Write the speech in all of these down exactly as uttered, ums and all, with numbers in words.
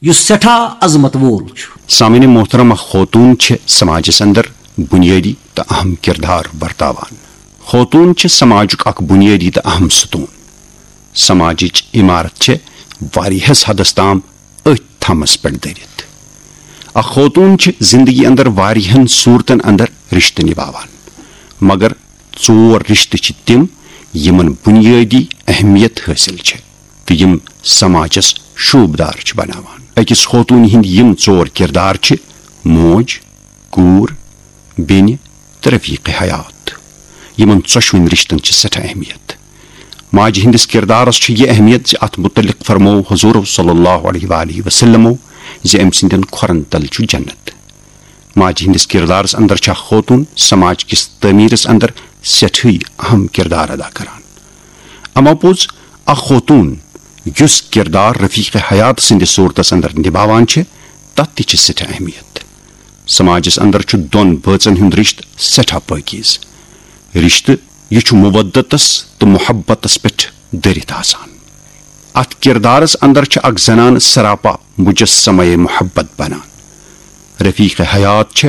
یُس سٮ۪ٹھاہ عظمت وول چھُ۔ سامعین محترم، اکھ خوتون چھِ سماجس اندر بنیٲدی تہٕ اہم کردار ورتاوان۔ خوتون چھِ سماجُک اکھ بنیٲدی تہٕ اہم ستون۔ سماجٕچ عمارت چھِ واریاہس حدس تام أتھۍ تھمس پٮ۪ٹھ دٔرِتھ۔ اکھ خوتون چھِ زندگی اندر واریاہن صورتن اندر رشتہٕ نباوان، مگر ژور رشتہٕ چھِ تِم یِمن بنیٲدی اہمیت حٲصِل چھِ تہٕ یِم سماجس شوٗبدار چھِ بناوان۔ أکِس خوتوٗنہِ ہٕنٛدۍ یِم ژور کردار چھِ: موج، کوٗر، بیٚنہِ تہٕ رفیق حیات۔ یِمن ژۄشوٕنۍ رشتن چھِ سٮ۪ٹھاہ اہمیت۔ ماجہِ ہٕنٛدِس کردارس چھِ یہِ اہمیت زِ اتھ متعلق فرموو حضور صلی اللہ علیہ وآلہ وسلمو زِ أمۍ سٕنٛدٮ۪ن کھۄرن تل چھُ جنت۔ ماجہِ ہٕنٛدِس کردارس اندر چھےٚ خوتون سماج کِس تعمیرس اندر سٮ۪ٹھٕے اہم کردار ادا کران۔ اما پوٚز، اکھ خوتون یُس کردار رفیق حیات سٕنٛدِس صورتس اندر نباوان چھِ، تتھ تہِ چھِ سٮ۪ٹھاہ اہمیت۔ سماجس اندر چھُ دۄن بٲژن ہُنٛد رشتہٕ سٮ۪ٹھاہ پٲکیز۔ رشتہٕ یہِ چھُ مودتس تہٕ محبتس پٮ۪ٹھ دٔرِتھ آسان۔ اتھ کردارس اندر چھِ اکھ زنان سراپا مجسمہ محبت بنان۔ رفیق حیات چھِ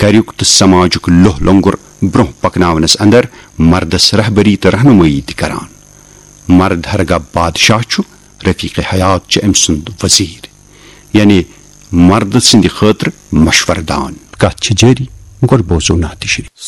گریُک تہٕ سماجُک لوہ لنگر برونٛہہ پکناونس اندر مردس رہبری تہٕ رہنمٲیی تہِ کران۔ مرد ہرگاہ بادشاہ چھُ، رفیق حیات چھِ أمۍ سُنٛد وزیر، یعنی مرد سٕنٛدِ خٲطرٕ مشورٕ دان۔ کتھ چھِ جٲری، گۄڈٕ بوزو نعت شریف۔